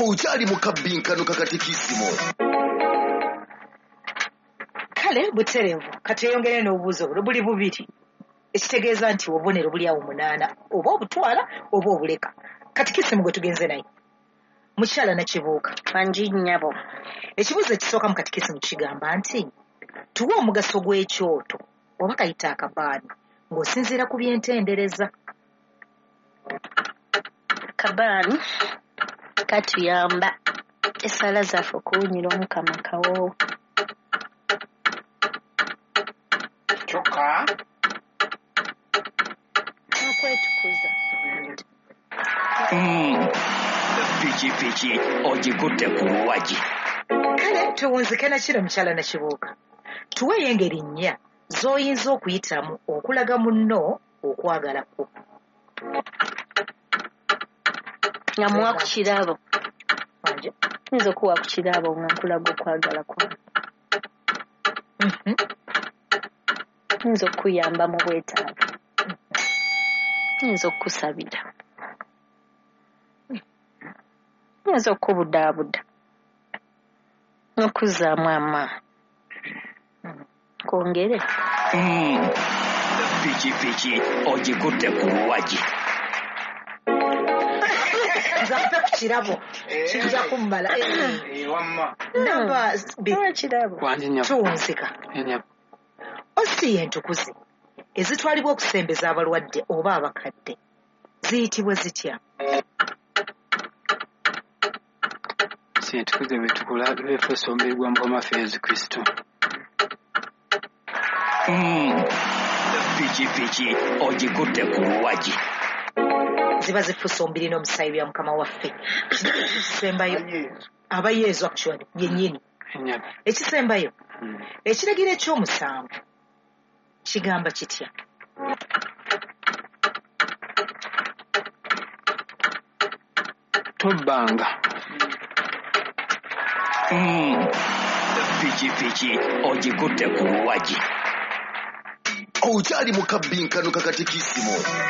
Okyali mu kabbinkano kakatikisimu. Kale butereevu, katweyongere n'obubuuzo buno buli bubiri, ekitegeeza nti obubonero buli awo 8, oba obutwala oba obuleka. Katikisimu gwe tugenze naye, mukyala Nakibuuka. Wangi nnyabo. Ekibuuzo ekisooka mu katikisimu kigamba nti tuwe omugaso gw'ekyoto oba kayita akabaani ng'osinziira ku byentendereza. Kabaani katuyamba essaala zaffe okuwunyira Omukama kawoowo. Kyokka n'okwetukuza. Pikipiki ogikutte ku luwagi. Kale tuwunzike na kino mukyala Nakibuuka. Tuweeyo engeri 4 z'oyinza okuyitamu okulaga munno okwagala kwo. Nga muwa ku kirabo. Wanje? Nyinza okuwa ku kirabo nga nkulaga okwagala kwange. Nyinza okuyamba mu bwetaavu. Nyinza okukusabira. Nyinza okubudaabuda. N'okuzzaamu amaanyi. Kwongere. Pikipiki ogikutte ku luwagi. Nze mpe ku kirabo kijja kummala. Wamma. Namba Kirabo. Tuwunzika. Ositiya entukuze ezitwalibwa okusembeza abalwadde oba abakadde ziyitibwa zitya? Entukuze bwe beefuuse omubiri gwa Mukama waffe Yesu Kristo. Pikipiki ogikutte ku luwagi. Ziba zifuuse omubiri n'omusaayi bya Mukama waffe. Ekisembayo aba Yesu actually yennyini. Ekisembayo ekiragiro eky'omusanvu kigamba kitya? Tobbanga. Pikipiki ogikutte ku luwagi. Okyali mu kabbinkano kakatikisimu.